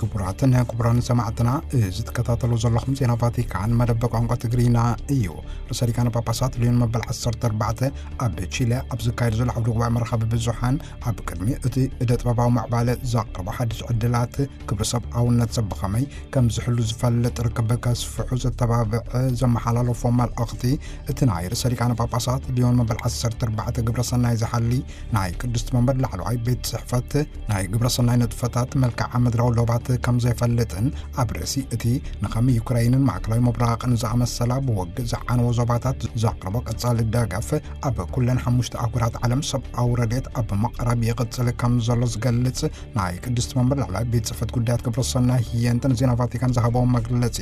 ክቡራትን ክቡራን ሰማዕትና፣ እዚ ትከታተሉ ዘለኹም ዜና ቫቲካን መደብ ቋንቋ ትግርኛ እዩ። ርእሰ ሊቃነ ጳጳሳት ሊዮን መበል ዓሰርተ ኣርባዕተ ኣብ ቺለ ኣብ ዝካየድ ዘሎ ዓውደ ጉባኤ መራኸቢ ብዙሓን፣ ኣብ ቅድሚ እቲ እደ ጥበባዊ ምዕባለ ዘቕርቦ ሓድሽ ዕድላት ክብሪ ሰብኣውነት ሰብ ብኸመይ ከም ዝሕሉ ዝፈልጥ ርክብ ከስፍሑ ዘተባብዕ ዘመሓላለፎ መልእኽቲ፣ እቲ ናይ ርእሰ ሊቃነ ጳጳሳት ሊዮን መበል ዓሰርተ ኣርባዕተ ግብረ ሰናይ ዝሓሊ ናይ ቅድስቲ መንበር ላዕለዋይ ቤት ጽሕፈት ናይ ግብረ ሰናይ ንጥፈታት መልክዓ ምድራዊ ዶባት ከም ዘይፈልጥን፣ ኣብ ርእሲ እቲ ንኸም ዩክራይንን ማእከላዊ ምብራቕን ዝኣመሰላ ብወግእ ዝዓነወ ዞባታት ዘቕርቦ ቀጻሊ ደገፍ፣ ኣብ ኩለን ሓሙሽተ ኣህጉራት ዓለም ሰብኣዊ ረድኤት ኣብ ምቕራብ ይቕጽል ከም ዘሎ ዝገልጽ ናይ ቅድስቲ መንበር ላዕለዋይ ቤት ጽሕፈት ጉዳያት ግብረ ሰናይ ህየንትን ዜና ቫቲካን ዝሃበዎ መግለጺ፣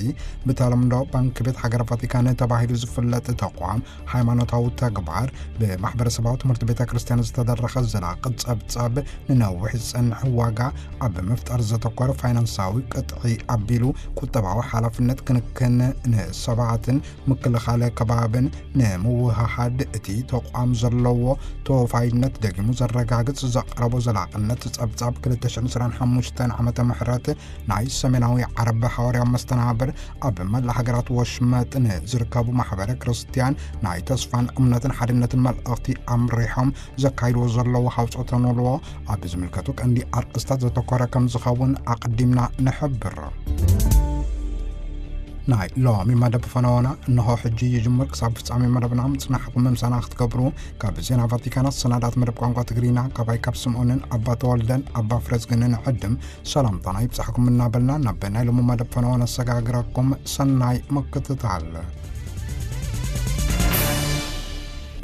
ብተለምዶ ባንክ ቤት ሃገረ ቫቲካን ተባሂሉ ዝፍለጥ ተቋም፣ ሃይማኖታዊ ተግባር ብማሕበረሰባዊ ትምህርቲ ቤተ ክርስቲያን ዝተደረኸ ዘላቒ ጸብጻብ፣ ንነዊሕ ዝጸንሕ ዋጋ ኣብ ምፍጣር ዘተኮረ ፋይናንሳዊ ቅጥዒ ኣቢሉ፣ ቁጠባዊ ሓላፍነት ክንክን ንሰባትን ምክልኻለ ከባብን ንምውህሃድ እቲ ተቋም ዘለዎ ተወፋይነት ደጊሙ ዘረጋግጽ ዘቕረቦ ዘላቕነት ጸብጻብ ክልተ ሽሕን ዕስራን ሓሙሽተን ዓመተ ምሕረት ናይ ሰሜናዊ ዓረብ ሓዋርያዊ መስተናብር ኣብ መላእ ሃገራት ወሽመጥ ንዝርከቡ ማሕበረ ክርስቲያን ናይ ተስፋን እምነትን ሓድነትን መልእኽቲ ኣምሪሖም ዘካይድዎ ዘለዉ ሃውጾተ ኖልዎ ኣብ ዝምልከቱ ቀንዲ ኣርእስታት ዘተኮረ ከም ዝኸውን ኣቐዲምና ንሕብር። ናይ ሎሚ መደብ ፈነወና እንሆ ሕጂ ይጅምር። ክሳብ ፍጻሜ መደብና ምጽናሕኩም ምምሳና ክትገብሩ ካብ ዜና ቫቲካን ኣሰናዳት መደብ ቋንቋ ትግርኛ ካባይ ካብ ስምኦንን ኣባ ተወልደን ኣባ ፍረዝግንን ዕድም ሰላምታና ይብጻሕኩም እናበልና፣ ናብ ናይ ሎሚ መደብ ፈነወ ነሰጋግረኩም። ሰናይ ምክትታል።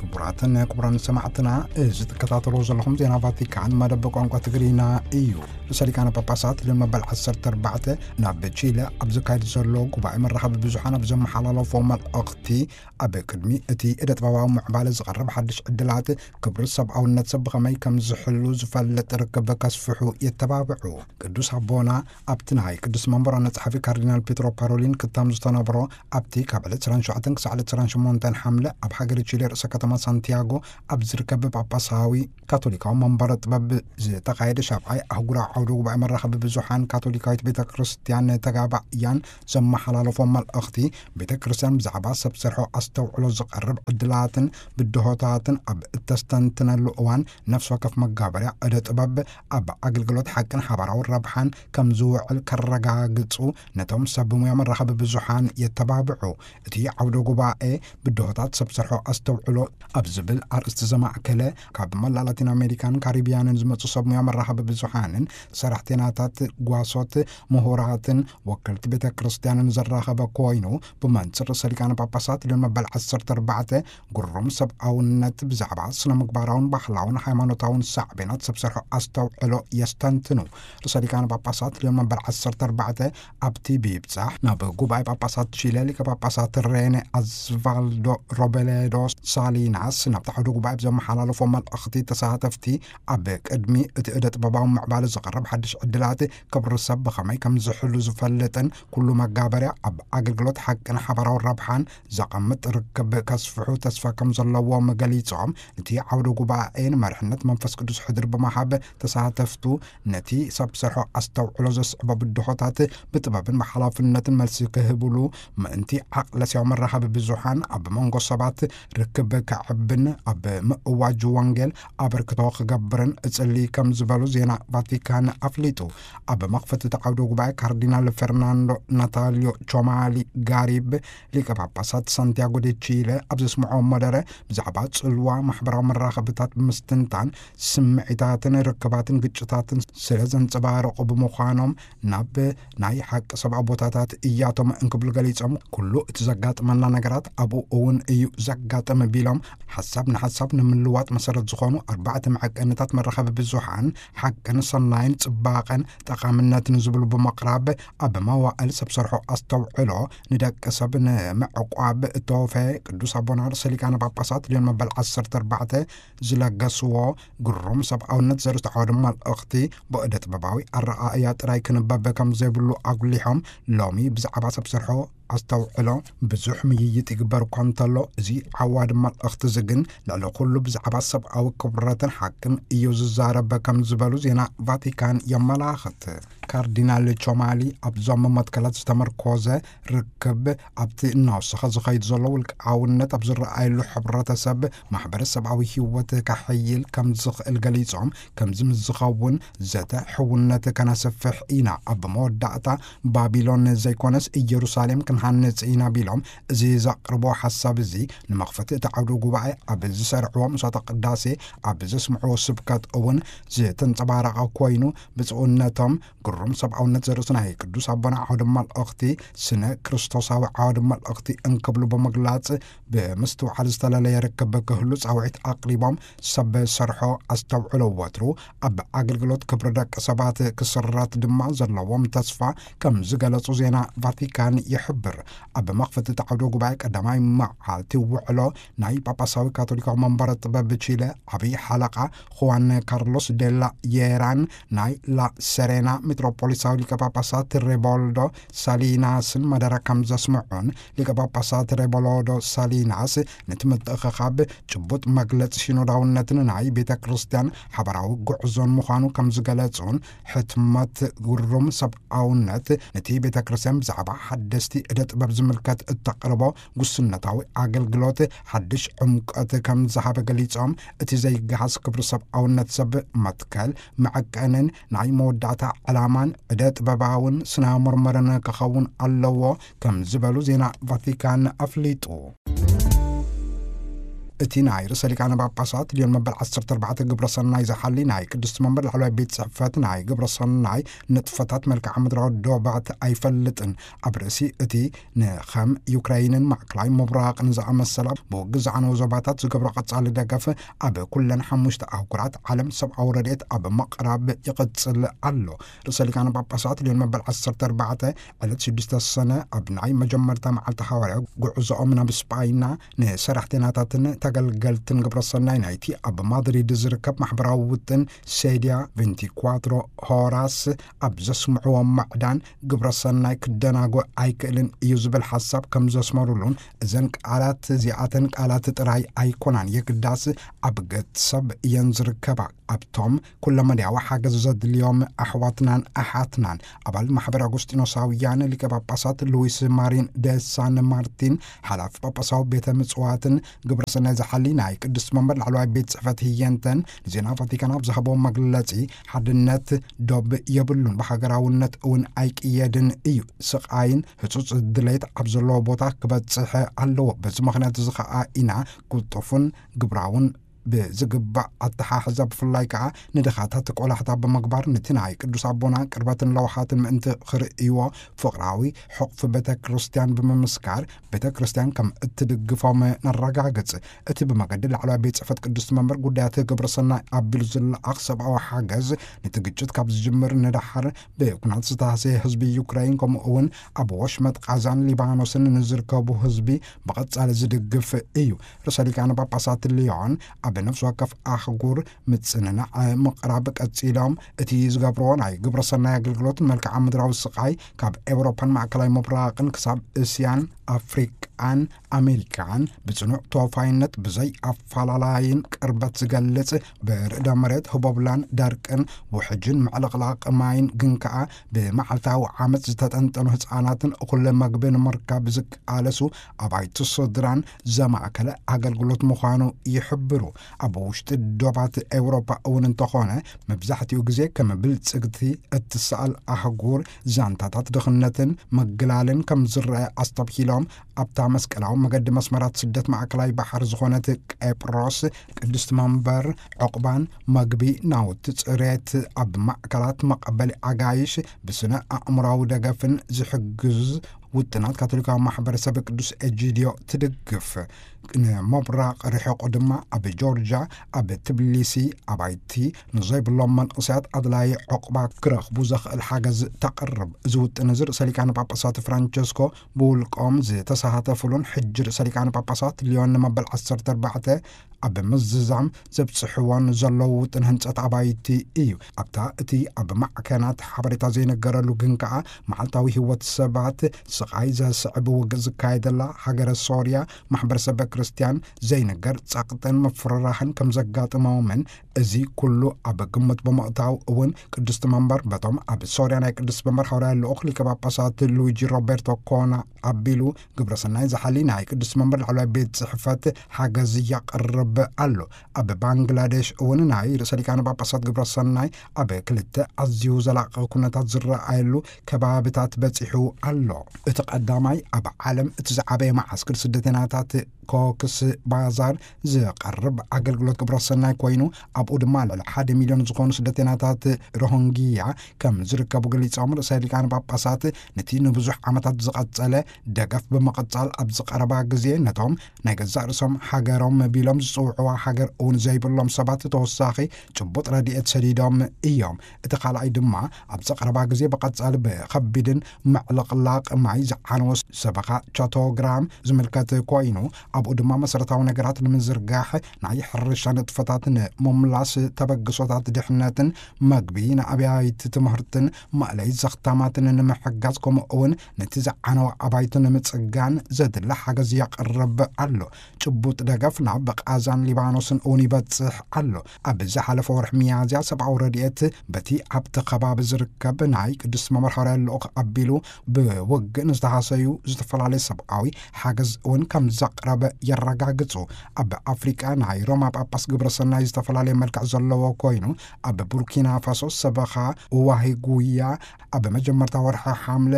ክቡራትን ክቡራን ሰማዕትና፣ እዚ ትከታተልዎ ዘለኹም ዜና ቫቲካን መደብ ቋንቋ ትግርኛ እዩ። ርእሰ ሊቃነ ጳጳሳት ሊዮን መበል ዓሰርተ ኣርባዕተ ናብ ቺለ ኣብ ዝካየድ ዘሎ ጉባኤ መራኸቢ ብዙሓን ኣብ ዘመሓላለፎ መልእኽቲ፣ ኣብ ቅድሚ እቲ እደ ጥበባዊ ምዕባለ ዝቐርብ ሓድሽ ዕድላት ክብሪ ሰብኣውነት ሰብ ብኸመይ ከም ዝሕሉ ዝፈልጥ ርክብ ከስፍሑ የተባብዑ። ቅዱስ ኣቦና ኣብቲ ናይ ቅዱስ መንበር ዋና ጸሓፊ ካርዲናል ፔትሮ ፓሮሊን ክታም ዝተነብሮ፣ ኣብቲ ካብ ዕለት ዕስራን ሸውዓተን ክሳዕ ዕለት ዕስራን ሸሞንተን ሓምለ ኣብ ሃገረ ቺሌ ርእሰ ከተማ ሳንቲያጎ ኣብ ዝርከብ ጳጳሳዊ ካቶሊካዊ መንበረ ጥበብ ዝተኻየደ ሻብዓይ ኣህጉራዊ ዓውደ ጉባኤ መራኸቢ ብዙሓን ካቶሊካዊት ቤተ ክርስቲያን ተጋባእያን ዘመሓላለፎ መልእኽቲ፣ ቤተ ክርስቲያን ብዛዕባ ሰብ ሰርሖ ኣስተውዕሎ ዝቐርብ ዕድላትን ብድሆታትን ኣብ እተስተንትነሉ እዋን፣ ነፍሲ ወከፍ መጋበርያ ዕደ ጥበብ ኣብ ኣገልግሎት ሓቅን ሓባራዊ ረብሓን ከም ዝውዕል ከረጋግጹ ነቶም ሰብ ሙያ መራኸቢ ብዙሓን የተባብዑ። እቲ ዓውደ ጉባኤ ብድሆታት ሰብ ሰርሖ ኣስተውዕሎ ኣብ ዝብል ኣርእስቲ ዘማእከለ፣ ካብ መላእ ላቲን ኣሜሪካን ካሪቢያንን ዝመጹ ሰብ ሙያ መራኸቢ ብዙሓንን ሰራሕተኛታት ጓሶት ምሁራትን ወከልቲ ቤተ ክርስቲያንን ዘራኸበ ኮይኑ፣ ብመንጽር ርእሰ ሊቃነ ጳጳሳት ሊዮን መበል ዓሰርተ ኣርባዕተ ግሩም ሰብኣውነት ብዛዕባ ስነ ምግባራውን ባህላውን ሃይማኖታውን ሳዕቤናት ሰብ ሰርሖ ኣስተውዕሎ የስተንትኑ። ርእሰ ሊቃነ ጳጳሳት ሊዮን መበል ዓሰርተ ኣርባዕተ ኣብቲ ብይብጻሕ ናብ ጉባኤ ጳጳሳት ቺለ ሊቀ ጳጳሳት ሬኔ ኣዝቫልዶ ሮቤሌዶ ሳሊናስ ናብቲ ዓውደ ጉባኤ ብዘመሓላለፎ መልእኽቲ፣ ተሳተፍቲ ኣብ ቅድሚ እቲ እደ ጥበባዊ ምዕባለ ዝቐርብ ሓድሽ ዕድላት ክብሪ ሰብ ብኸመይ ከም ዝሕሉ ዝፈልጥን፣ ኩሉ መጋበርያ ኣብ ኣገልግሎት ሓቅን ሓባራዊ ረብሓን ዘቐምጥ ርክብ ከስፍሑ ተስፋ ከም ዘለዎም ገሊጾም፣ እቲ ዓውደ ጉባኤ ንመሪሕነት መንፈስ ቅዱስ ሕድር ብምሃብ፣ ተሳተፍቱ ነቲ ሰብ ሰርሖ ኣስተውዕሎ ዘስዕቦ ብድሆታት ብጥበብን ብሓላፍነትን መልሲ ክህብሉ ምእንቲ፣ ዓቕለ ስያዊ መራኸቢ ብዙሓን ኣብ መንጎ ሰባት ርክብ ከዕብን ኣብ ምእዋጅ ወንጌል ኣበርክቶ ክገብርን እጽሊ ከም ዝበሉ ዜና ቫቲካን ኣፍሊጡ። ኣብ መኽፈቲ እቲ ዓውደ ጉባኤ ካርዲናል ፈርናንዶ ናታልዮ ቾማሊ ጋሪብ፣ ሊቀ ጳጳሳት ሳንቲያጎ ዴ ቺለ፣ ኣብ ዘስምዖ መደረ፣ ብዛዕባ ጽልዋ ማሕበራዊ መራኸብታት ብምስትንታን፣ ስምዒታትን ርክባትን ግጭታትን ስለ ዘንጸባረቑ ብምዃኖም፣ ናብ ናይ ሓቂ ሰብኣዊ ቦታታት እያቶም እንክብሉ ገሊጾም፣ ኩሉ እቲ ዘጋጥመና ነገራት ኣብኡ እውን እዩ ዘጋጥም ቢሎም፣ ሓሳብ ንሓሳብ ንምልዋጥ መሰረት ዝኾኑ ኣርባዕተ መዐቀንታት መራኸቢ ብዙሓን፣ ሓቅን ሰናይን፣ ጽባቐን ጠቓምነትን ዝብሉ ብምቕራብ፣ ኣብ መዋእል ሰብ ሰርሖ ኣስተውዕሎ ንደቂ ሰብ ንምዕቋብ እተወፈየ ቅዱስ ኣቦና ርእሰ ሊቃነ ጳጳሳት ሊዮን መበል ዓሰርተ ኣርባዕተ ዝለገስዎ ግሩም ሰብኣውነት ዘርእስቱ ዓውደ መልእኽቲ፣ ብእደ ጥበባዊ ኣረኣእያ ጥራይ ክንበብ ከም ዘይብሉ ኣጉሊሖም፣ ሎሚ ብዛዕባ ሰብ ሰርሖ ኣስተውዕሎ ብዙሕ ምይይጥ ይግበር እኳ እንተሎ፣ እዚ ዓዋዲ መልእኽቲ እዚ ግን ልዕሊ ኩሉ ብዛዕባ ሰብኣዊ ክብረትን ሓቅን እዩ ዝዛረብ ከም ዝበሉ ዜና ቫቲካን የመላኽት። ካርዲናል ቾማሊ ኣብዞም መትከላት ዝተመርኮዘ ርክብ፣ ኣብቲ እናወሰኸ ዝኸይድ ዘሎ ውልቃውነት ኣብ ዝረኣየሉ ሕብረተሰብ፣ ማሕበረሰባዊ ህይወት ከሐይል ከም ዝኽእል ገሊጾም፣ ከምዚ ምስ ዝኸውን ዘተ ሕውነት ከነስፍሕ ኢና፣ ኣብ መወዳእታ ባቢሎን ዘይኮነስ ኢየሩሳሌም ክንሃንጽ ኢና ቢሎም፣ እዚ ዘቕርቦ ሓሳብ እዚ ንመኽፈቲ እቲ ዓውደ ጉባኤ ኣብ ዝሰርዕዎ ምሳተ ቅዳሴ ኣብ ዘስምዕዎ ስብከት እውን ዝተንጸባረቐ ኮይኑ፣ ብፁዕነቶም ግሩም ሰብኣውነት ዘርእሱ ናይ ቅዱስ ኣቦና ዓውደ መልእኽቲ፣ ስነ ክርስቶሳዊ ዓውደ መልእኽቲ እንክብሉ ብምግላጽ፣ ብምስትውዓል ዝተለለየ ርክብ ክህሉ ጻውዒት ኣቕሪቦም፣ ሰብ ሰርሖ ኣስተውዕሎ ወትሩ ኣብ ኣገልግሎት ክብሪ ደቂ ሰባት ክስረት ድማ ዘለዎም ተስፋ ከም ዝገለጹ ዜና ቫቲካን ይሕብር። ኣብ መኽፈቲ እቲ ዓውደ ጉባኤ ቀዳማይ መዓልቲ ውዕሎ ናይ ጳጳሳዊ ካቶሊካዊ መንበረ ጥበብ ቺለ ዓብዪ ሓለቓ ኹዋን ካርሎስ ዴላ የራን፣ ናይ ላ ሰሬና ሚትሮፖሊሳዊ ሊቀ ጳጳሳት ሬቦልዶ ሳሊናስን መደረ ከም ዘስምዑን፣ ሊቀ ጳጳሳት ሬቦሎዶ ሳሊናስ ነቲ ምትእኽኻብ ጭቡጥ መግለጺ ሲኖዳውነትን ናይ ቤተ ክርስቲያን ሓበራዊ ጉዕዞን ምዃኑ ከም ዝገለጹን፣ ሕትመት ግሩም ሰብኣውነት ነቲ ቤተ ክርስቲያን ብዛዕባ ሓደስቲ እደ ጥበብ ዝምልከት እተቕርቦ ጉስነታዊ ኣገልግሎት ሓድሽ ዕምቀት ከም ዝሃበ ገሊጾም፣ እቲ ዘይገሃስ ክብሪ ሰብኣውነት ሰብ መትከል መዐቀንን ናይ መወዳእታ ዕላማን እደ ጥበባውን ስነ ምርምርን ክኸውን ኣለዎ ከም ዝበሉ ዜና ቫቲካን ኣፍሊጡ። እቲ ናይ ርእሰ ሊቃነ ጳጳሳት ሊዮን መበል ዓሰርተ ኣርባዕተ ግብረ ሰናይ ዝሓሊ ናይ ቅድስቲ መንበር ላዕለዋይ ቤት ጽሕፈት ናይ ግብረ ሰናይ ንጥፈታት መልክዓ ምድራዊ ዶባት ኣይፈልጥን። ኣብ ርእሲ እቲ ንኸም ዩክራይንን ማእከላይ ምብራቕን ዝኣመሰላ ብውግእ ዝዓነው ዞባታት ዝገብሮ ቀጻሊ ደገፍ ኣብ ኩለን ሓሙሽተ ኣህጉራት ዓለም ሰብኣዊ ረድኤት ኣብ ምቕራብ ይቕጽል ኣሎ። ርእሰ ሊቃነ ጳጳሳት ሊዮን መበል ዓሰርተ ኣርባዕተ ዕለት ሽዱሽተ ሰነ ኣብ ናይ መጀመርታ መዓልቲ ሃዋርያዊ ጉዕዞኦም ናብ ስጳይና ንሰራሕተኛታትን ተገልገልትን ግብረ ሰናይ ናይቲ ኣብ ማድሪድ ዝርከብ ማሕበራዊ ውጥን ሴድያ ቬንቲኳትሮ ሆራስ ኣብ ዘስምዕዎ ማዕዳን፣ ግብረ ሰናይ ክደናጎ ኣይክእልን እዩ ዝብል ሓሳብ ከም ዘስመሩሉን፣ እዘን ቃላት እዚኣተን ቃላት ጥራይ ኣይኮናን፣ የግዳስ ኣብ ገጽ ሰብ እየን ዝርከባ። ኣብቶም ኩለመዳያዊ ሓገዝ ዘድልዮም ኣሕዋትናን ኣሓትናን፣ ኣባል ማሕበር ኣጉስጢኖሳውያን ሊቀ ጳጳሳት ሉዊስ ማሪን ደ ሳን ማርቲን፣ ሓላፊ ጳጳሳዊ ቤተ ምጽዋትን ግብረ ሰናይ ዝሓሊ ናይ ቅድስቲ መንበር ላዕለዋይ ቤት ጽሕፈት ህየንተን ንዜና ቫቲካን ኣብ ዝሃቦ መግለጺ፣ ሓድነት ዶብ የብሉን፣ ብሃገራውነት እውን ኣይቅየድን እዩ። ስቓይን ህጹጽ ድሌት ኣብ ዘለዎ ቦታ ክበጽሕ ኣለዎ። በዚ ምኽንያት እዚ ኸኣ ኢና ቅልጡፍን ግብራውን ብዝግባእ ኣተሓሕዛ፣ ብፍላይ ከኣ ንድኻታት ቆላሕታ ብምግባር፣ ነቲ ናይ ቅዱስ ኣቦና ቅርበትን ለውሃትን ምእንቲ ክርእይዎ፣ ፍቕራዊ ሕቑፊ ቤተ ክርስቲያን ብምምስካር፣ ቤተ ክርስቲያን ከም እትድግፎም ነረጋግጽ። እቲ ብመገዲ ላዕለዋይ ቤት ጽሕፈት ቅድስቲ መንበር ጉዳያት ግብረ ሰናይ ኣቢሉ ዝለኣኽ ሰብኣዊ ሓገዝ፣ ነቲ ግጭት ካብ ዝጅምር ንደሓር ብኩናት ዝተሃሰየ ህዝቢ ዩክራይን፣ ከምኡ እውን ኣብ ወሽመጥ ቃዛን ሊባኖስን ንዝርከቡ ህዝቢ ብቐጻሊ ዝድግፍ እዩ። ርእሰ ሊቃነ ጳጳሳት ሊዮን ኣብ ነፍሲ ወከፍ ኣህጉር ምጽንናዕ ምቕራብ ቀጺሎም፣ እቲ ዝገብርዎ ናይ ግብረ ሰናይ ኣገልግሎት፣ መልክዓ ምድራዊ ስቓይ ካብ ኤውሮፓን ማእከላይ ምብራቕን ክሳብ እስያን ኣፍሪቃን ኣሜሪካን ብጽኑዕ ተወፋይነት፣ ብዘይ ኣፈላላይን ቅርበት ዝገልጽ፣ ብርዕደ መሬት፣ ህቦብላን ደርቅን፣ ውሕጅን ምዕልቕላቕ ማይን፣ ግን ከኣ ብመዓልታዊ ዓመጽ ዝተጠንጠኑ ህጻናትን እኹል መግቢ ንምርካብ ዝቃለሱ ኣባይቲ ስድራን ዘማእከለ ኣገልግሎት ምዃኑ ይሕብሩ። ኣብ ውሽጢ ዶባት ኤውሮፓ እውን እንተኾነ፣ መብዛሕትኡ ግዜ ከም ብልጽግቲ እትሰኣል ኣህጉር ዛንታታት ድኽነትን ምግላልን ከም ዝረአ ኣስተብሂሎም፣ ኣብታ መስቀላዊ መገዲ መስመራት ስደት ማእከላይ ባሕሪ ዝኾነት ቄጵሮስ፣ ቅድስቲ መንበር፣ ዕቑባን መግቢ፣ ናውቲ ጽሬት፣ ኣብ ማእከላት መቐበሊ ኣጋይሽ፣ ብስነ ኣእምሮኣዊ ደገፍን ዝሕግዝ ውጥናት ካቶሊካዊ ማሕበረሰብ ቅዱስ ኤጂድዮ ትድግፍ። ንመብራቕ ርሑቕ ድማ ኣብ ጆርጅያ፣ ኣብ ትብሊሲ፣ ኣባይቲ ንዘይብሎም መንእሰያት ኣድላዪ ዕቑባ ክረኽቡ ዘኽእል ሓገዝ ተቕርብ። እዚ ውጥን እዚ ርእሰ ሊቃነ ጳጳሳት ፍራንቸስኮ ብውልቆም ዝተሳተፉሉን ሕጂ ርእሰ ሊቃነ ጳጳሳት ሊዮን ንመበል ዓሰርተ ኣርባዕተ ኣብ ምዝዛም ዘብጽሕዎን ዘለዉ ውጥን ህንጸት ኣባይቲ እዩ። ኣብታ እቲ ኣብ ማዕከናት ሓበሬታ ዘይነገረሉ ግን ከኣ መዓልታዊ ህይወት ሰባት ስቓይ ዘስዕብ ውግእ ዝካየደላ ሃገረ ሶርያ፣ ማሕበረሰብ ክርስቲያን ዘይንገር ጸቕጥን ምፍርራህን ከም ዘጋጥሞምን፣ እዚ ኩሉ ኣብ ግምት ብምእታው እውን ቅድስቲ መንበር በቶም ኣብ ሶርያ ናይ ቅድስቲ መንበር ሓዋርያ ልኡኽ ሊቀ ጳጳሳት ሉዊጂ ሮቤርቶ ኮና ኣቢሉ ግብረሰናይ ዝሓሊ ናይ ቅድስቲ መንበር ላዕለዋይ ቤት ጽሕፈት ሓገዝ የቕርብ ኣሎ። ኣብ ባንግላዴሽ እውን ናይ ርእሰ ሊቃነ ጳጳሳት ግብረሰናይ ኣብ ክልተ ኣዝዩ ዘላቒ ኩነታት ዝረኣየሉ ከባብታት በጺሑ ኣሎ። እቲ ቀዳማይ ኣብ ዓለም እቲ ዝዓበየ መዓስክር ስደተኛታት ኮክስ ባዛር ዝቐርብ ኣገልግሎት ግብረሰናይ ኮይኑ፣ ኣብኡ ድማ ልዕሊ ሓደ ሚልዮን ዝኾኑ ስደተኛታት ሮሂንግያ ከም ዝርከቡ ገሊጾም፣ ርእሰ ሊቃነ ጳጳሳት ነቲ ንብዙሕ ዓመታት ዝቐጸለ ደገፍ ብምቕጻል፣ ኣብዚ ቀረባ ግዜ ነቶም ናይ ገዛእ ርእሶም ሃገሮም ቢሎም ዝጽውዕዋ ሃገር እውን ዘይብሎም ሰባት ተወሳኺ ጭቡጥ ረድኤት ሰዲዶም እዮም። እቲ ካልኣይ ድማ ኣብዚ ቀረባ ግዜ ብቐጻሊ ብኸቢድን ምዕልቕላቕ ማይ ዝዓነወ ሰበኻ ቻቶግራም ዝምልከት ኮይኑ፣ ኣብኡ ድማ መሰረታዊ ነገራት ንምዝርጋሕ፣ ናይ ሕርሻ ንጥፈታት ንምምላስ፣ ተበግሶታት ድሕነትን መግቢ ንኣብያይቲ ትምህርትን መእለይ ዘኽታማትን ንምሕጋዝ፣ ከምኡ እውን ነቲ ዝዓነወ ኣባይቲ ንምጽጋን ዘድሊ ሓገዝ የቕርብ ኣሎ። ጭቡጥ ደገፍ ናብ ቃዛን ሊባኖስን እውን ይበጽሕ ኣሎ። ኣብ ዝሓለፈ ወርሒ ሚያዝያ ሰብኣዊ ረድኤት በቲ ኣብቲ ከባቢ ዝርከብ ናይ ቅዱስ መምህር ሓዋርያ ልኡኽ ኣቢሉ ብውግእ ንዝተሃሰዩ ዝተፈላለዩ ሰብኣዊ ሓገዝ እውን ከም ዘቕረበ የረጋግጹ። ኣብ ኣፍሪቃ ናይ ሮማ ጳጳስ ግብረ ሰናይ ዝተፈላለየ መልክዕ ዘለዎ ኮይኑ፣ ኣብ ቡርኪና ፋሶ ሰበኻ ዋሂ ጉያ ኣብ መጀመርታ ወርሒ ሓምለ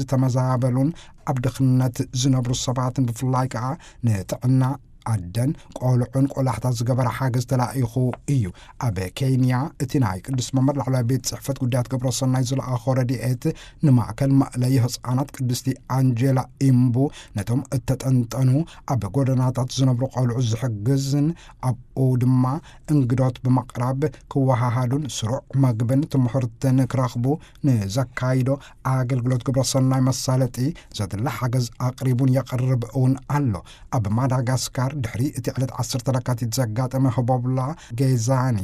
ንዝተመዛበሉን ኣብ ድኽነት ዝነብሩ ሰባትን ብፍላይ ከኣ ንጥዕና ኣደን ቆልዑን ቆላሕታ ዝገበረ ሓገዝ ተላኢኹ እዩ። ኣብ ኬንያ እቲ ናይ ቅዱስ መምህር ላዕለዋይ ቤት ጽሕፈት ጉዳያት ግብረ ሰናይ ዝለኣኾ ረድኤት ንማእከል መእለይ ህጻናት ቅድስቲ ኣንጀላ ኢምቡ ነቶም እተጠንጠኑ ኣብ ጎደናታት ዝነብሩ ቆልዑ ዝሕግዝን ኣብኡ ድማ እንግዶት ብምቕራብ ክወሃሃዱን ስሩዕ መግብን ትምህርትን ክረኽቡ ንዘካይዶ ኣገልግሎት ግብረ ሰናይ መሳለጢ ዘድሊ ሓገዝ ኣቕሪቡን የቕርብ እውን ኣሎ። ኣብ ማዳጋስካር ድሕሪ እቲ ዕለት ዓሰርተ ለካቲት ዘጋጠመ ህቦብላ ጌዛኒ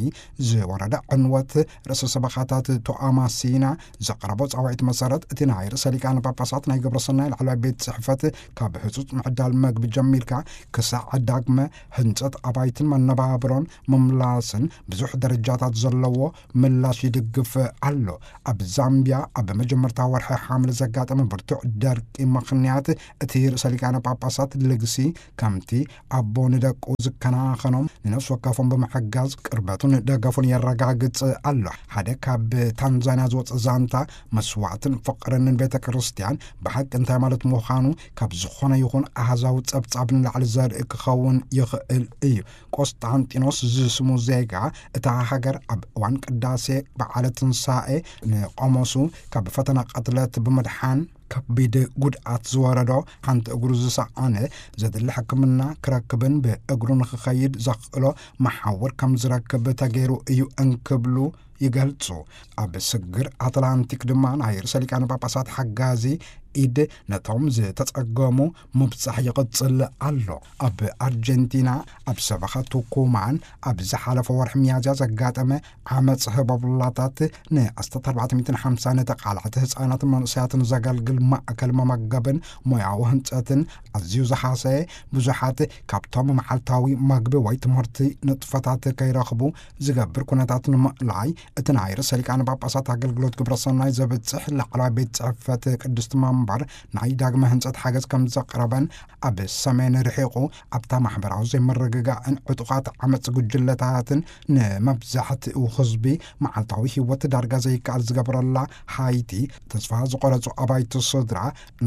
ዝወረደ ዕንወት፣ ርእሰ ሰበኻታት ቶኣማሲና ዘቕረቦ ጻውዒት መሰረት፣ እቲ ናይ ርእሰ ሊቃነ ጳጳሳት ናይ ግብረ ሰናይ ላዕለዋይ ቤት ጽሕፈት ካብ ህጹጽ ምዕዳል መግቢ ጀሚርካ ክሳዕ ዳግመ ህንጸት ኣባይትን መነባብሮን ምምላስን ብዙሕ ደረጃታት ዘለዎ ምላሽ ይድግፍ ኣሎ። ኣብ ዛምቢያ ኣብ መጀመርታ ወርሒ ሓምለ ዘጋጠመ ብርቱዕ ደርቂ ምኽንያት፣ እቲ ርእሰ ሊቃነ ጳጳሳት ልግሲ ከምቲ ኣቦ ንደቁ ዝከናኸኖም ንነፍሲ ወከፎም ብምሕጋዝ ቅርበቱን ደገፉን የረጋግጽ ኣሎ። ሓደ ካብ ታንዛንያ ዝወጸ ዛንታ መስዋዕትን ፍቕርን ቤተ ክርስቲያን ብሓቂ እንታይ ማለት ምዃኑ ካብ ዝኾነ ይኹን ኣሃዛዊ ጸብጻብ ንላዕሊ ዘርኢ ክኸውን ይኽእል እዩ። ቆስጣንጢኖስ ዝስሙ ዜጋ እታ ሃገር ኣብ እዋን ቅዳሴ በዓለ ትንሳኤ ንቆሞሱ ካብ ፈተና ቅትለት ብምድሓን ከቢድ ጉድኣት ዝወረዶ፣ ሓንቲ እግሩ ዝሰኣነ፣ ዘድሊ ሕክምና ክረክብን ብእግሩ ንኽኸይድ ዘኽእሎ መሓውር ከም ዝረክብ ተገይሩ እዩ እንክብሉ ይገልጹ። ኣብ ስግር ኣትላንቲክ ድማ ናይ ርእሰ ሊቃነ ጳጳሳት ሓጋዚ ኢድ ነቶም ዝተጸገሙ ምብጻሕ ይቕጽል ኣሎ። ኣብ ኣርጀንቲና ኣብ ሰበኻ ቱኩማን ኣብ ዝሓለፈ ወርሒ ሚያዝያ ዘጋጠመ ዓመጽ ህቦብላታት ንኣስታት ኣርባዕተ ሚእትን ሓምሳን ተቓላዕቲ ህጻናትን መንእሰያትን ዘገልግል ማእከል መመገብን ሞያዊ ህንጸትን ኣዝዩ ዝሃሰየ፣ ብዙሓት ካብቶም መዓልታዊ መግቢ ወይ ትምህርቲ ንጥፈታት ከይረኽቡ ዝገብር ኩነታት ንምእላይ፣ እቲ ናይ ርእሰ ሊቃነ ጳጳሳት ኣገልግሎት ግብረ ሰናይ ዘብጽሕ ላዕለዋይ ቤት ጽሕፈት ቅድስቲ መንበር ናይ ዳግመ ህንጸት ሓገዝ ከም ዘቕረበን፣ ኣብ ሰሜን ርሒቑ ኣብታ ማሕበራዊ ዘይምርግጋእን ዕጡቓት ዓመጽ ጉጅለታትን ንመብዛሕትኡ ህዝቢ መዓልታዊ ህይወት ዳርጋ ዘይከኣል ዝገበረላ ሃይቲ፣ ተስፋ ዝቆረጹ ኣባይቲ ስድራ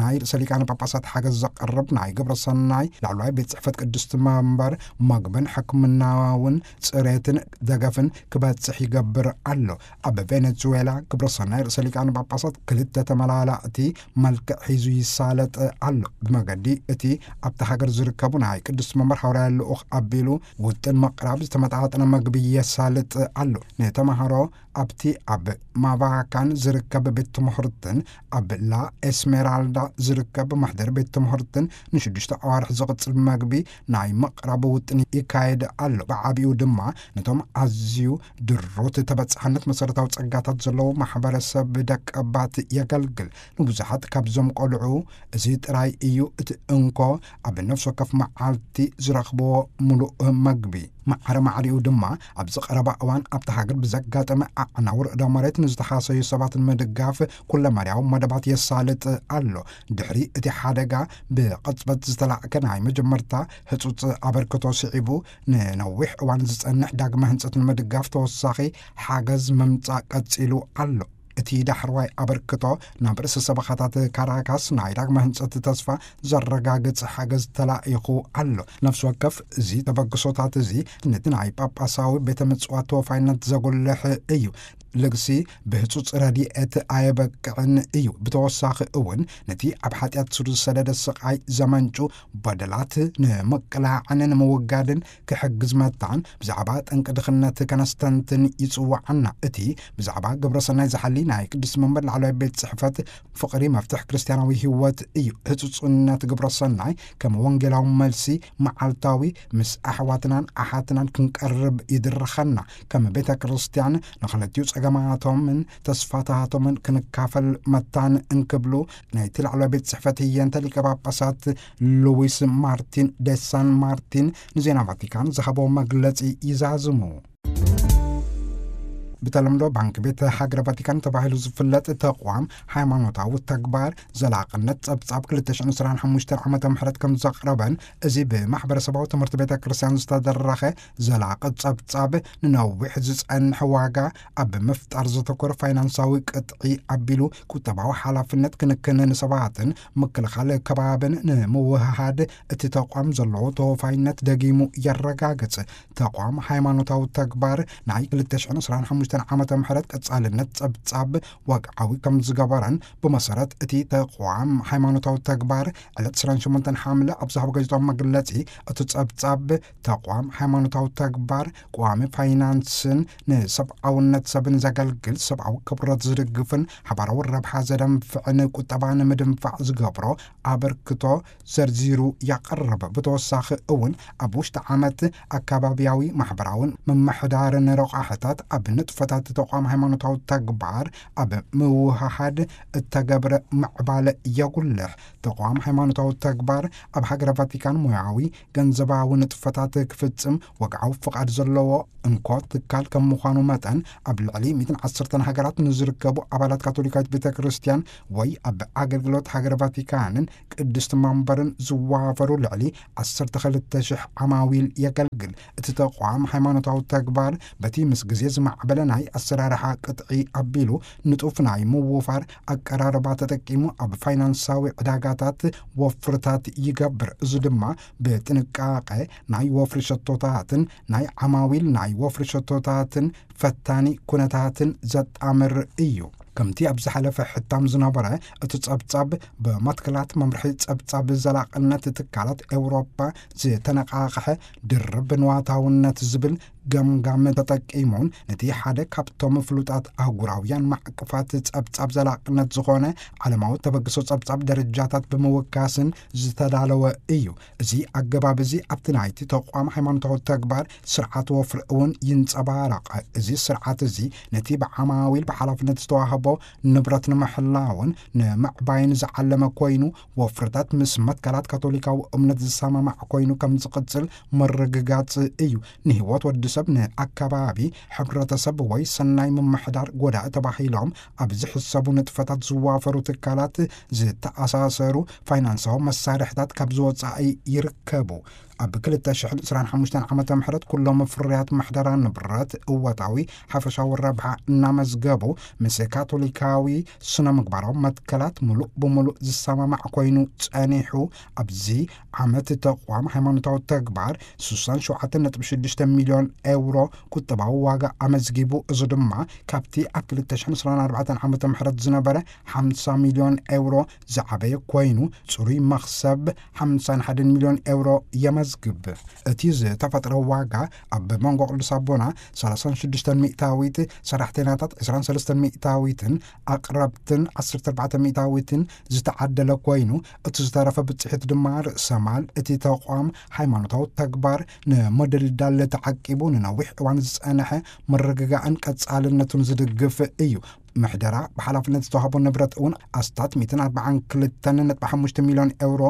ናይ ርእሰ ሊቃነ ጳጳሳት ሓገዝ ዘቕርብ ናይ ግብረ ሰናይ ላዕለዋይ ቤት ጽሕፈት ቅድስቲ መንበር መግብን ሕክምናውን ጽሬትን ደገፍን ክበጽሕ ይገብር ኣሎ። ኣብ ቬኔዙዌላ ግብረ ሰናይ ርእሰ ሊቃነ ጳጳሳት ክልተ ተመላላእቲ መልክዕ ሒዙ ይሳለጥ ኣሎ። ብመገዲ እቲ ኣብቲ ሃገር ዝርከቡ ናይ ቅዱስ መንበር ሓዋርያ ልኡኽ ኣቢሉ ውጥን ምቕራብ ዝተመጣጠነ መግቢ የሳልጥ ኣሎ። ንተማሃሮ ኣብቲ ኣብ ማቫካን ዝርከብ ቤት ትምህርትን ኣብ ላ ኤስሜራልዳ ዝርከብ መሕደሪ ቤት ትምህርትን ንሽዱሽተ ኣዋርሕ ዝቕጽል መግቢ ናይ ምቕራብ ውጥን ይካየድ ኣሎ። ብዓቢኡ ድማ ነቶም ኣዝዩ ድሩት ተበጻሕነት መሰረታዊ ጸጋታት ዘለዎ ማሕበረሰብ ደቀባት የገልግል። ንብዙሓት ካብዞም ቆልዑ እዚ ጥራይ እዩ እቲ እንኮ ኣብ ነፍሲ ወከፍ መዓልቲ ዝረኽብዎ ምሉእ መግቢ። ማዕረ ማዕሪኡ ድማ ኣብዚ ቀረባ እዋን ኣብቲ ሃገር ብዘጋጠመ ኣዕናዊ ርዕደ መሬት ንዝተሃሰዩ ሰባት ንምድጋፍ ኩለመዳያዊ መደባት የሳልጥ ኣሎ። ድሕሪ እቲ ሓደጋ ብቕጽበት ዝተላእከ ናይ መጀመርታ ህጹጽ ኣበርክቶ ስዒቡ፣ ንነዊሕ እዋን ዝጸንሕ ዳግመ ህንጸት ንምድጋፍ ተወሳኺ ሓገዝ ምምጻእ ቀጺሉ ኣሎ። እቲ ዳሕረዋይ ኣበርክቶ ናብ ርእሰ ሰበኻታት ካራካስ ናይ ዳግመ ህንጸት ተስፋ ዘረጋግጽ ሓገዝ ተላኢኹ ኣሎ። ነፍሲ ወከፍ እዚ ተበግሶታት እዚ ነቲ ናይ ጳጳሳዊ ቤተ ምጽዋት ተወፋይነት ዘጉልሕ እዩ። ልግሲ ብህጹጽ ረድኤት ኣየበቅዕን እዩ። ብተወሳኺ እውን ነቲ ኣብ ሓጢኣት ስር ዝሰደደ ስቓይ ዘመንጩ በደላት ንምቅላዕን ንምውጋድን ክሕግዝ መታን ብዛዕባ ጠንቂ ድኽነት ከነስተንትን ይጽውዓና። እቲ ብዛዕባ ግብረ ሰናይ ዝሓሊ ናይ ቅድስቲ መንበር ላዕለዋይ ቤት ጽሕፈት ፍቕሪ መፍትሕ ክርስትያናዊ ህይወት እዩ። ህጹጽነት ግብረ ሰናይ ከም ወንጌላዊ መልሲ መዓልታዊ ምስ ኣሕዋትናን ኣሓትናን ክንቀርብ ይድርኸና። ከም ቤተ ክርስቲያን ንኽልቲኡ ጸገማቶምን ተስፋታቶምን ክንካፈል መታን እንክብሉ ናይቲ ላዕለዋይ ቤት ጽሕፈት ህየንተ ሊቀ ጳጳሳት ሉዊስ ማርቲን ዴ ሳን ማርቲን ንዜና ቫቲካን ዝሃቦ መግለጺ ይዛዝሙ። ብተለምዶ ባንክ ቤት ሃገረ ቫቲካን ተባሂሉ ዝፍለጥ ተቋም ሃይማኖታዊ ተግባር ዘላቕነት ጸብጻብ ክልተ ሽሕን ዕስራን ሓሙሽተን ዓመተ ምህረት ከም ዘቕረበን፣ እዚ ብማሕበረሰባዊ ትምህርቲ ቤተ ክርስቲያን ዝተደረኸ ዘላቒ ጸብጻብ ንነዊሕ ዝጸንሕ ዋጋ ኣብ ምፍጣር ዘተኮረ ፋይናንሳዊ ቅጥዒ ኣቢሉ ቁጠባዊ ሓላፍነት ክንክን ንሰባትን ምክልኻል ከባብን ንምውህሃድ እቲ ተቋም ዘለዎ ተወፋይነት ደጊሙ የረጋግጽ። ተቋም ሃይማኖታዊ ተግባር ናይ ክልተ ሽሕን ዕስራን ሓሙሽተን ዓመተ ምህረት ቀጻልነት ጸብጻብ ወግዓዊ ከም ዝገበረን፣ ብመሰረት እቲ ተቋም ሃይማኖታዊ ተግባር ዕለት ዕስራን ሸሞንተን ሓምለ ኣብ ዝሃቦ ጋዜጣዊ መግለጺ፣ እቲ ጸብጻብ ተቋም ሃይማኖታዊ ተግባር ቀዋሚ ፋይናንስን ንሰብኣውነት ሰብን ዘገልግል ሰብኣዊ ክብረት ዝድግፍን ሓባራዊ ረብሓ ዘደንፍዕን ቁጠባ ንምድንፋዕ ዝገብሮ ኣበርክቶ ዘርዚሩ ያቐርብ። ብተወሳኺ እውን ኣብ ውሽጢ ዓመት ኣካባቢያዊ ማሕበራውን ምምሕዳርን ረቋሕታት ኣብ ንጥፈታት ተቋም ሃይማኖታዊ ተግባር ኣብ ምውህሃድ እተገብረ ምዕባለ የጉልሕ። ተቋም ሃይማኖታዊ ተግባር ኣብ ሃገረ ቫቲካን ሞያዊ ገንዘባዊ ንጥፈታት ክፍጽም ወግዓዊ ፍቓድ ዘለዎ እንኮ ትካል ከም ምዃኑ መጠን፣ ኣብ ልዕሊ ሚእትን ዓሰርተን ሃገራት ንዝርከቡ ኣባላት ካቶሊካዊት ቤተ ክርስቲያን ወይ ኣብ ኣገልግሎት ሃገረ ቫቲካንን ቅድስቲ መንበርን ዝዋፈሩ ልዕሊ ዓሰርተ ክልተ ሽሕ ዓማዊል የገልግል። እቲ ተቋም ሃይማኖታዊ ተግባር በቲ ምስ ግዜ ዝማዕበለ ናይ ኣሰራርሓ ቅጥዒ ኣቢሉ ንጡፍ ናይ ምውፋር ኣቀራርባ ተጠቂሙ ኣብ ፋይናንሳዊ ዕዳጋታት ወፍርታት ይገብር። እዚ ድማ ብጥንቃቐ ናይ ወፍሪ ሸቶታትን ናይ ዓማዊል ናይ ወፍሪ ሸቶታትን ፈታኒ ኩነታትን ዘጣምር እዩ። ከምቲ ኣብ ዝሓለፈ ሕታም ዝነበረ፣ እቲ ጸብጻብ ብመትከላት መምርሒ ጸብጻብ ዘላቕነት ትካላት ኤውሮጳ ዝተነቓቕሐ ድርብ ንዋታውነት ዝብል ገምጋም ተጠቂሙን፣ ነቲ ሓደ ካብቶም ፍሉጣት ኣህጉራውያን ማዕቀፋት ጸብጻብ ዘላቕነት ዝኾነ ዓለማዊ ተበግሶ ጸብጻብ ደረጃታት ብምውካስን ዝተዳለወ እዩ። እዚ ኣገባብ እዚ ኣብቲ ናይቲ ተቋም ሃይማኖታዊ ተግባር ስርዓት ወፍሪ እውን ይንጸባረቕ። እዚ ስርዓት እዚ ነቲ ብዓማዊል ብሓላፍነት ዝተዋህቦ ንብረት ንምሕላውን ንምዕባይን ዝዓለመ ኮይኑ፣ ወፍርታት ምስ መትከላት ካቶሊካዊ እምነት ዝሰማማዕ ኮይኑ ከም ዝቕጽል ምርግጋጽ እዩ። ንህይወት ወዲ ሰብ፣ ንኣከባቢ፣ ሕብረተሰብ ወይ ሰናይ ምምሕዳር ጎዳኢ ተባሂሎም ኣብ ዝሕሰቡ ንጥፈታት ዝዋፈሩ ትካላት ዝተኣሳሰሩ ፋይናንሳዊ መሳርሕታት ካብ ዝወጻኢ ይርከቡ። ኣብ ክልተ ሽሕን ዕስራን ሓሙሽተን ዓመተ ምህረት ኩሎም ፍርያት ምሕደራ ንብረት እወታዊ ሓፈሻዊ ረብሓ እናመዝገቡ፣ ምስ ካቶሊካዊ ስነ ምግባራዊ መትከላት ምሉእ ብምሉእ ዝሰማማዕ ኮይኑ ጸኒሑ። ኣብዚ ዓመት ተቋም ሃይማኖታዊ ተግባር ስሳን ሸውዓተን ነጥቢ ሽዱሽተ ሚልዮን ኤውሮ ቁጠባዊ ዋጋ ኣመዝጊቡ። እዚ ድማ ካብቲ ኣብ ክልተ ሽሕን ዕስራን ኣርባዕተን ዓመተ ምህረት ዝነበረ ሓምሳ ሚልዮን ኤውሮ ዝዓበየ ኮይኑ፣ ጽሩይ መኽሰብ ሓምሳን ሓደን ሚልዮን ኤውሮ የመ ዝግብ እቲ ዝተፈጥረ ዋጋ ኣብ መንጎ ቅዱስ ኣቦና ሰላሳ ሽዱሽተ ሚእታዊት፣ ሰራሕተኛታት ዕስራን ሰለስተን ሚእታዊትን፣ ኣቕረብትን ዓሰርተ ኣርባዕተ ሚእታዊትን ዝተዓደለ ኮይኑ፣ እቲ ዝተረፈ ብፅሒት ድማ ርእሰ ማል እቲ ተቋም ሃይማኖታዊ ተግባር ንምድልዳል ተዓቂቡ ንነዊሕ እዋን ዝፀንሐ ምርግጋእን ቀጻልነቱን ዝድግፍ እዩ። ምሕደራ ብሓላፍነት ዝተዋህቦ ንብረት እውን ኣስታት ሚእትን ኣርባዓን ክልተን ነጥቢ ሓሙሽተ ሚልዮን ኤውሮ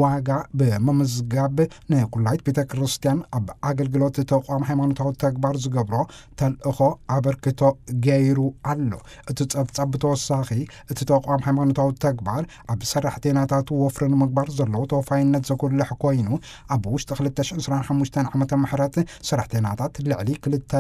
ዋጋ ብምምዝጋብ ንኩላይት ቤተ ክርስቲያን ኣብ ኣገልግሎት ተቋም ሃይማኖታዊ ተግባር ዝገብሮ ተልእኾ ኣበርክቶ ገይሩ ኣሎ። እቲ ጸብጻብ ብተወሳኺ እቲ ተቋም ሃይማኖታዊ ተግባር ኣብ ሰራሕተኛታቱ ወፍሪ ንምግባር ዘለዎ ተወፋይነት ዘጉልሕ ኮይኑ፣ ኣብ ውሽጢ ክልተ ሽሕን ዕስራን ሓሙሽተን ዓመተ ምሕረት ሰራሕተኛታት ልዕሊ ክልተ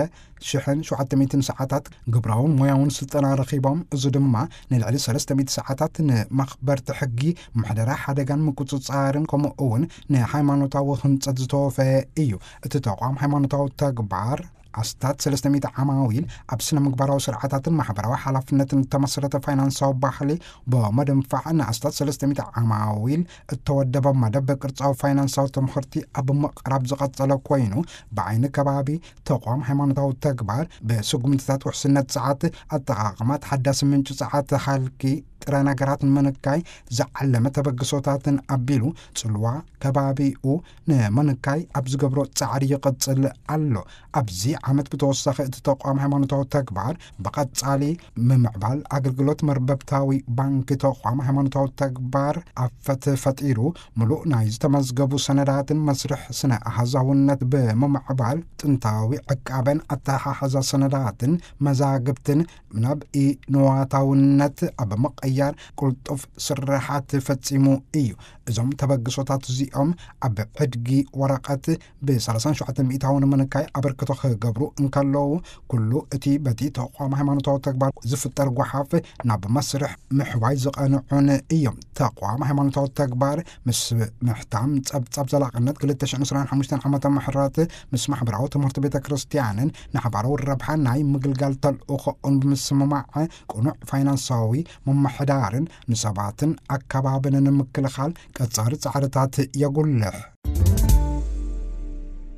ሽሕን ሸውዓተ ሚእትን ሰዓታት ግብራውን ሞያውን ስልጠና ረኺቦም። እዚ ድማ ንልዕሊ ሰለስተ ሚእቲ ሰዓታት ንመኽበርቲ ሕጊ፣ ምሕደራ ሓደጋን ምቁጽጻርን ከምኡ እውን ንሃይማኖታዊ ህንጸት ዝተወፈየ እዩ። እቲ ተቋም ሃይማኖታዊ ተግባር ኣስታት ሰለስተ ሚእቲ ዓማዊል ኣብ ስነ ምግባራዊ ስርዓታትን ማሕበራዊ ሓላፍነትን እተመሰረተ ፋይናንሳዊ ባህሊ ብምድንፋዕ ንኣስታት ሰለስተ ሚእቲ ዓማዊል እተወደበ መደብ ቅርጻዊ ፋይናንሳዊ ትምህርቲ ኣብ ምቕራብ ዝቐጸለ ኮይኑ፣ ብዓይኒ ከባቢ ተቋም ሃይማኖታዊ ተግባር ብስጉምትታት ውሕስነት ጸዓት፣ ኣጠቓቕማ ተሓዳሲ ምንጪ ጸዓት፣ ሃልኪ ጥረ ነገራት ንምንካይ ዝዓለመ ተበግሶታትን ኣቢሉ ጽልዋ ከባቢኡ ንምንካይ ኣብ ዝገብሮ ጻዕሪ ይቕጽል ኣሎ። ኣብዚ ዓመት ብተወሳኺ እቲ ተቋም ሃይማኖታዊ ተግባር ብቐጻሊ ምምዕባል ኣገልግሎት መርበብታዊ ባንኪ ተቋም ሃይማኖታዊ ተግባር ኣፈት ፈጢሩ፣ ምሉእ ናይ ዝተመዝገቡ ሰነዳትን መስርሕ ስነ ኣሃዛውነት ብምምዕባል ጥንታዊ ዕቃበን ኣተሓሓዛ ሰነዳትን መዛግብትን ናብ ኢንዋታውነት ኣብ ምቕያር ቅልጡፍ ስራሓት ፈጺሙ እዩ። እዞም ተበግሶታት እዚኦም ኣብ ዕድጊ ወረቐት ብ ሰላሳን ሸውዓተን ሚእታዊ ንምንካይ ኣበርክቶ ክገብሩ እንከለዉ፣ ኩሉ እቲ በቲ ተቋም ሃይማኖታዊ ተግባር ዝፍጠር ጓሓፍ ናብ መስርሕ ምሕዋይ ዝቐንዑን እዮም። ተቋም ሃይማኖታዊ ተግባር ምስ ምሕታም ጸብጻብ ዘላቕነት ክልተ ሽሕን ዕስራን ሓሙሽተን ዓመተ ምሕረት ምስ ማሕበራዊ ትምህርቲ ቤተ ክርስቲያንን ንሓባራዊ ረብሓ ናይ ምግልጋል ተልእኾኡን ብምስምማዕ ቅኑዕ ፋይናንሳዊ ምምሕዳርን ንሰባትን ኣከባብን ንምክልኻል ቀጻሊ ጻዕርታት የጉልሕ።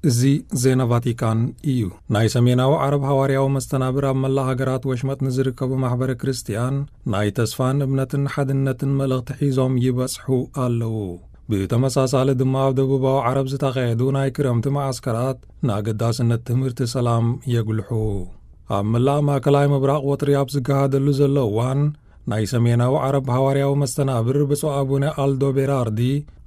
እዚ ዜና ቫቲካን እዩ። ናይ ሰሜናዊ ዓረብ ሃዋርያዊ መስተናብር ኣብ መላእ ሃገራት ወሽመጥ ንዝርከቡ ማሕበረ ክርስቲያን ናይ ተስፋን እምነትን ሓድነትን መልእኽቲ ሒዞም ይበጽሑ ኣለዉ። ብተመሳሳሊ ድማ ኣብ ደቡባዊ ዓረብ ዝተኻየዱ ናይ ክረምቲ መዓስከራት ንኣገዳስነት ትምህርቲ ሰላም የጉልሑ። ኣብ መላእ ማእከላይ ምብራቕ ወጥሪ ኣብ ዝገሃደሉ ዘሎ እዋን፣ ናይ ሰሜናዊ ዓረብ ሃዋርያዊ መስተናብር ብፁዕ ኣቡነ ኣልዶ ቤራርዲ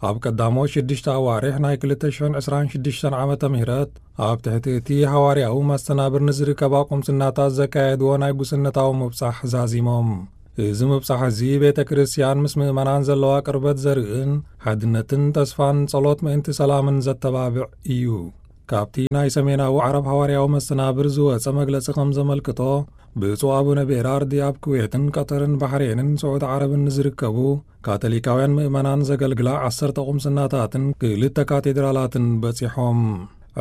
ኣብ ቀዳሞት ሽዱሽተ ኣዋርሕ ናይ ክልተ ሽሕን ዕስራን ሽዱሽተን ዓመተ ምህረት ኣብ ትሕቲ እቲ ሃዋርያዊ መስተናብር ንዝርከባ ቁምስናታት ዘካየድዎ ናይ ጉስነታዊ ምብጻሕ ዛዚሞም። እዚ ምብጻሕ እዚ ቤተ ክርስቲያን ምስ ምእመናን ዘለዋ ቅርበት ዘርእን ሓድነትን ተስፋን ጸሎት ምእንቲ ሰላምን ዘተባብዕ እዩ። ካብቲ ናይ ሰሜናዊ ዓረብ ሃዋርያዊ መስተናብር ዝወጸ መግለጺ ከም ዘመልክቶ፣ ብፁዕ ኣቡነ ቤራርዲ ኣብ ኩዌትን ቀጠርን ባሕሬንን ስዑዲ ዓረብን ንዝርከቡ ካቶሊካውያን ምእመናን ዘገልግላ ዓሰርተ ቁምስናታትን ክልተ ካቴድራላትን በጺሖም።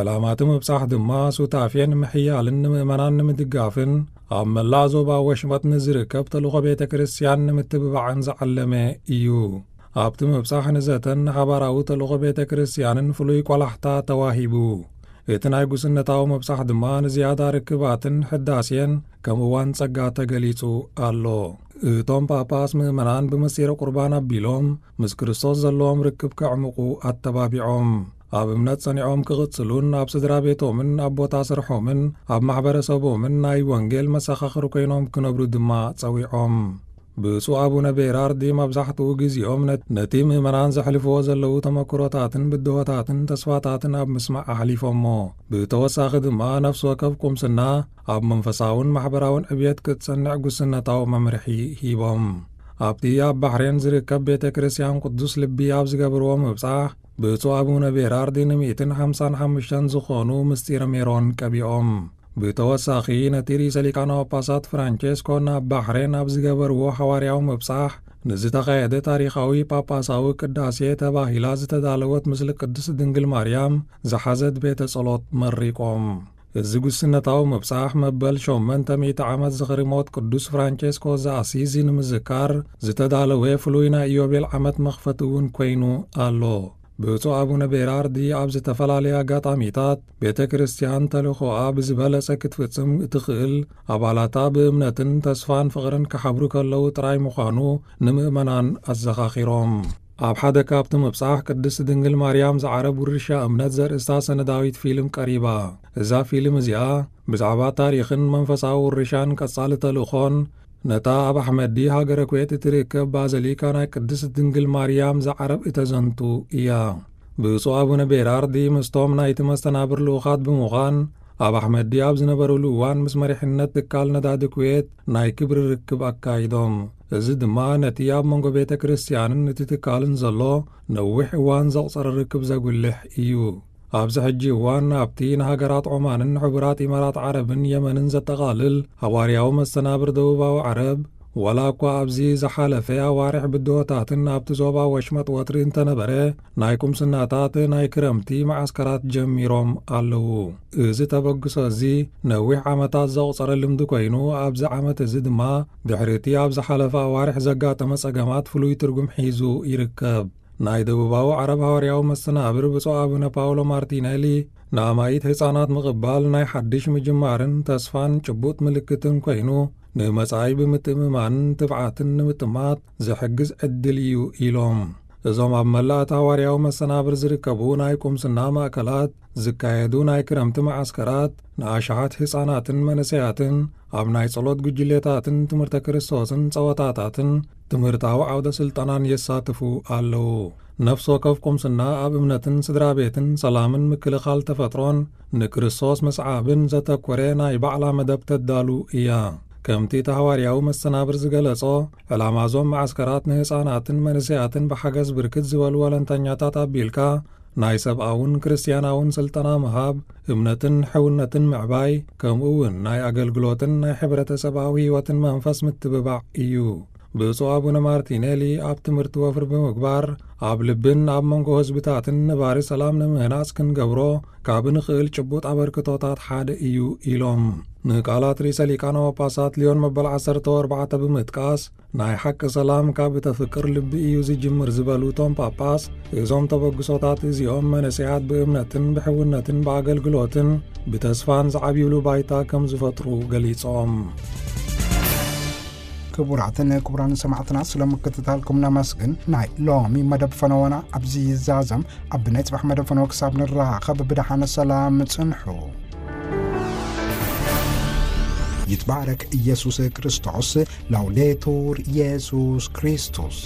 ዕላማ እቲ ምብጻሕ ድማ ሱታፌ ንምሕያልን ንምእመናን ንምድጋፍን ኣብ መላእ ዞባ ወሽመጥ ንዝርከብ ተልእኾ ቤተ ክርስቲያን ንምትብባዕን ዝዓለመ እዩ። ኣብቲ ምብጻሕ ንዘተን ንሓባራዊ ተልእኾ ቤተ ክርስቲያንን ፍሉይ ቆላሕታ ተዋሂቡ። እቲ ናይ ጉስነታዊ ምብጻሕ ድማ ንዝያዳ ርክባትን ሕዳሴን ከም እዋን ጸጋ ተገሊጹ ኣሎ። እቶም ጳጳስ ምእመናን ብምስጢረ ቁርባን ኣቢሎም ምስ ክርስቶስ ዘለዎም ርክብ ከዕምቑ ኣተባቢዖም። ኣብ እምነት ጸኒዖም ክቕጽሉን ኣብ ስድራ ቤቶምን ኣብ ቦታ ስርሖምን ኣብ ማሕበረሰቦምን ናይ ወንጌል መሰኻኽር ኮይኖም ክነብሩ ድማ ጸዊዖም። ብፁዕ ኣቡነ ቤራርዲ መብዛሕትኡ ግዜኦም ነት-፣ ነቲ ምእመናን ዘሕልፍዎ ዘለዉ ተመክሮታትን ብድሆታትን ተስፋታትን ኣብ ምስማዕ ኣሕሊፎሞ። ብተወሳኺ ድማ ነፍሲ ወከፍ ቁምስና ኣብ መንፈሳውን ማሕበራውን ዕብየት ክትጸንዕ ጉስነታዊ መምርሒ ሂቦም። ኣብቲ ኣብ ባሕሬን ዝርከብ ቤተ ክርስቲያን ቅዱስ ልቢ ኣብ ዝገበርዎ ምብጻሕ፣ ብፁዕ ኣቡነ ቤራርዲ ንሚእትን ሓምሳን ሓሙሽተን ዝኾኑ ምስጢረ ሜሮን ቀቢኦም። ብተወሳኺ፣ ነቲ ርእሰ ሊቃነ ጳጳሳት ፍራንቼስኮ ናብ ባሕሬን ኣብ ዝገበርዎ ሓዋርያዊ ምብጻሕ ንዝተኻየደ ታሪኻዊ ጳጳሳዊ ቅዳሴ ተባሂላ ዝተዳለወት ምስሊ ቅድስት ድንግል ማርያም ዝሓዘት ቤተ ጸሎት መሪቆም። እዚ ጉስነታዊ ምብጻሕ መበል ሸሞንተ ሚእቲ ዓመት ዝኽሪ ሞት ቅዱስ ፍራንቼስኮ ዘኣሲዚ ንምዝካር ዝተዳለወ ፍሉይ ናይ ኢዮቤል ዓመት መኽፈቲ እውን ኮይኑ ኣሎ። ብፁዕ ኣቡነ ቤራርዲ ኣብ ዝተፈላለየ ኣጋጣሚታት፣ ቤተ ክርስቲያን ተልእኾኣ ብዝበለጸ ክትፍጽም እትኽእል፣ ኣባላታ ብእምነትን ተስፋን ፍቕርን ክሓብሩ ከለዉ ጥራይ ምዃኑ ንምእመናን ኣዘኻኺሮም። ኣብ ሓደ ካብቲ ምብጻሕ ቅድስት ድንግል ማርያም ዝዓረብ ውርሻ እምነት ዘርእስታ ሰነዳዊት ፊልም ቀሪባ። እዛ ፊልም እዚኣ ብዛዕባ ታሪኽን መንፈሳዊ ውርሻን ቀጻሊ ተልእኾን ነታ ኣብ ኣሕመዲ ሃገረ ኩዌት እትርከብ ባዘሊካ ናይ ቅድስት ድንግል ማርያም ዝዓረብ እተዘንቱ እያ። ብፁዕ ኣቡነ ቤራርዲ ምስቶም ናይቲ መስተናብር ልኡኻት ብምዃን ኣብ ኣሕመዲ ኣብ ዝነበሩሉ እዋን ምስ መሪሕነት ትካል ነዳዲ ኩዌት ናይ ክብሪ ርክብ ኣካይዶም። እዚ ድማ ነቲ ኣብ መንጎ ቤተ ክርስቲያንን እቲ ትካልን ዘሎ ነዊሕ እዋን ዘቑጸረ ርክብ ዘጉልሕ እዩ። ኣብዚ ሕጂ እዋን ኣብቲ ንሃገራት ዖማንን ሕቡራት ኢማራት ዓረብን የመንን ዘጠቓልል ሃዋርያዊ መስተናብር ደቡባዊ ዓረብ፣ ዋላ እኳ ኣብዚ ዝሓለፈ ኣዋርሕ ብድሆታትን ኣብቲ ዞባ ወሽመጥ ወጥሪ እንተነበረ፣ ናይ ቁምስናታት ናይ ክረምቲ መዓስከራት ጀሚሮም ኣለዉ። እዚ ተበግሶ እዚ ነዊሕ ዓመታት ዘቑጸረ ልምዲ ኮይኑ፣ ኣብዚ ዓመት እዚ ድማ ድሕሪ እቲ ኣብ ዝሓለፈ ኣዋርሕ ዘጋጠመ ጸገማት ፍሉይ ትርጉም ሒዙ ይርከብ። ናይ ደቡባዊ ዓረብ ሃዋርያዊ መስተናብር ብፁዕ ኣቡነ ፓውሎ ማርቲነሊ፣ ንኣማኢት ህጻናት ምቕባል ናይ ሓድሽ ምጅማርን ተስፋን ጭቡጥ ምልክትን ኮይኑ፣ ንመጻኢ ብምትእምማንን ትብዓትን ንምጥማት ዝሕግዝ ዕድል እዩ ኢሎም። እዞም ኣብ መላእ እቲ ሃዋርያዊ መሰናብር ዝርከቡ ናይ ቁምስና ማእከላት ዝካየዱ ናይ ክረምቲ መዓስከራት፣ ንኣሽሓት ህጻናትን መንእሰያትን ኣብ ናይ ጸሎት ጉጅሌታትን ትምህርተ ክርስቶስን ጸወታታትን ትምህርታዊ ዓውደ ስልጠናን የሳትፉ ኣለዉ። ነፍሲ ወከፍ ቁምስና ኣብ እምነትን ስድራ ቤትን ሰላምን ምክልኻል ተፈጥሮን ንክርስቶስ ምስዓብን ዘተኮረ ናይ ባዕላ መደብ ተዳሉ እያ። ከምቲ እቲ ሃዋርያዊ መሰናብር ዝገለጾ፣ ዕላማ እዞም መዓስከራት ንህፃናትን መንእሰያትን ብሓገዝ ብርክት ዝበሉ ወለንተኛታት ኣቢልካ ናይ ሰብኣውን ክርስትያናውን ስልጠና ምሃብ፣ እምነትን ሕውነትን ምዕባይ፣ ከምኡ እውን ናይ ኣገልግሎትን ናይ ሕብረተሰባዊ ህይወትን መንፈስ ምትብባዕ እዩ። ብፁዕ ኣቡነ ማርቲኔሊ ኣብ ትምህርቲ ወፍሪ ብምግባር፣ ኣብ ልብን ኣብ መንጎ ህዝብታትን ነባሪ ሰላም ንምህናጽ ክንገብሮ ካብ ንኽእል ጭቡጥ ኣበርክቶታት ሓደ እዩ ኢሎም። ንቃላት ርእሰ ሊቃነ ጳጳሳት ሊዮን መበል ዓሰርተ ኣርባዕተ ብምጥቃስ፣ ናይ ሓቂ ሰላም ካብ እተፍቅር ልቢ እዩ ዝጅምር ዝበሉ እቶም ጳጳስ፣ እዞም ተበግሶታት እዚኦም መንእሰያት ብእምነትን ብሕውነትን ብኣገልግሎትን ብተስፋን ዝዓብዩሉ ባይታ ከም ዝፈጥሩ ገሊጾም። ክቡራትን ክቡራን ሰማዕትና፣ ስለ ምክትታልኩም ነመስግን። ናይ ሎሚ መደብ ፈነወና ኣብዚ ይዛዘም። ኣብ ናይ ጽባሕ መደብ ፈነወ ክሳብ ንራኸብ ብደሓነ ሰላም ጽንሑ። ይትባረክ ኢየሱስ ክርስቶስ። ላውዴቱር ኢየሱስ ክርስቶስ።